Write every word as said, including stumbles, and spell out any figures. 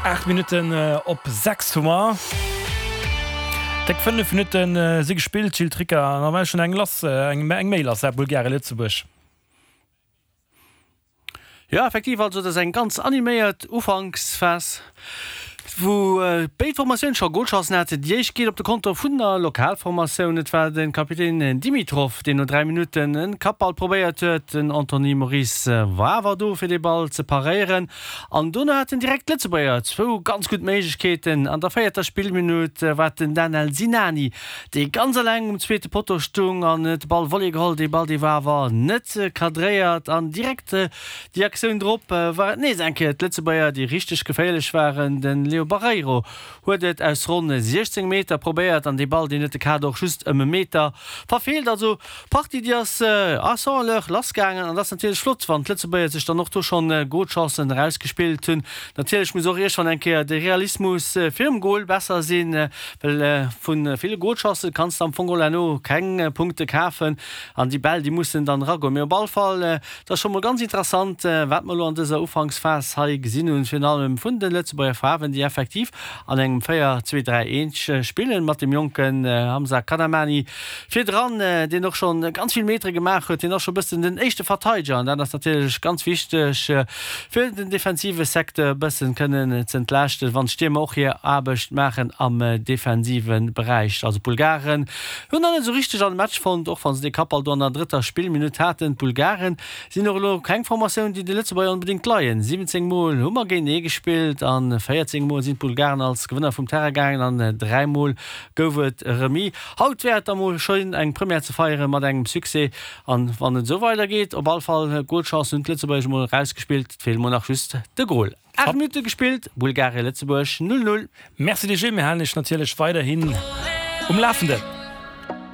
Aacht Minutten op sechs hu mer. Déck fënnef Minutte si gespillt, Gilles Tricker, an da war schonn eng lass, eng méi lass, Bulgarien-Lëtzebuerg. Jo, effektiv, also et ass eng ganz animéiert Ufanksphas, wou béid Formatioune scho Golchancen haten. Déi éischt geet op de Konto vun der Lokalformatioun. Et war de Kapitän Dimitrov, deen no dräi Minutten e Kappball probéiert huet. Den Anthony Moris war awer do, fir dee Ball ze paréieren. An dono haten direkt d'Lëtzebuerger zwou ganz gutt Méiglechkeeten. An der véierter Spillminutt war et den Danel Sinani, dee ganz eleng um zweete Potto stung an huet de Ball Volley geholl. Dee Ball, dee war awer net cadréiert. An direkt déi Aktioun drop war et nees eng Kéier d'Lëtzebuerger, déi richteg geféierlech waren. De Leo Barreiro huet et aus ronn siechzéng Meter probéiert an dee Ball, deen huet de Kader och just ëm e Meter verfeelt. Also d'Partie, déi ass à cent à l'heure lassgaangen an et ass natierlech flott, wann d'Lëtzebuerger sech dann och do schonn Golchancen erausgespillt hunn. Natierlech muss och iergendwann eng Kéier de Realismus virum Gol besser sinn, well vu ville Golchancë kanns de am Fong geholl herno keng Punkte kafen an déi Bäll, déi mussen dann eragoen. Mee op all Fall, et ass scho mol ganz interessant, wat mer elo an dëser Ufanksphas hei gesinn hunn, virun allem vun de Lëtzebuerger Faarwen, déi effektiv an engem véier zwee dräi eent spillen, mat dem jonken Hamza Kadamani virdran, deen och scho ganz vill Metere gemaach huet. Hien ass scho e bëssen den éischte Verteideger an dat ass natierlech ganz wichteg, fir den defensive Secteur e bëssen kënnen ze entlaaschten, wann d'Stiermer och hir Aarbecht maachen am defensive Beräich. Also d'Bulgaren hunn nach net esou richteg an de Match fonnt, och wa se dee Kappball do an der drëtter Spillminutt haten. D'Bulgaren sinn och elo keng Formatioun, déi de Lëtzebuerger onbedéngt leien. siwwenzéng Mol hu mer géintenee gespillt a véierzéng Mol sinn d'Bulgaren als Gewënner vum Terrain gaangen an dräi Mol gouf et Remis. Haut wär et da mol schéin eng Première ze feiere mat engem Succès an wann et esou weider geet, op all Fall Golchancen hunn d'Lëtzebuerger mol erausgespillt, et feelt mol nach just de Gol. Aacht Minutte gespillt, Bulgarien-Lëtzebuerg null, null. Merci dir Gilles, mir halen iech natierlech weiderhin um Lafenden.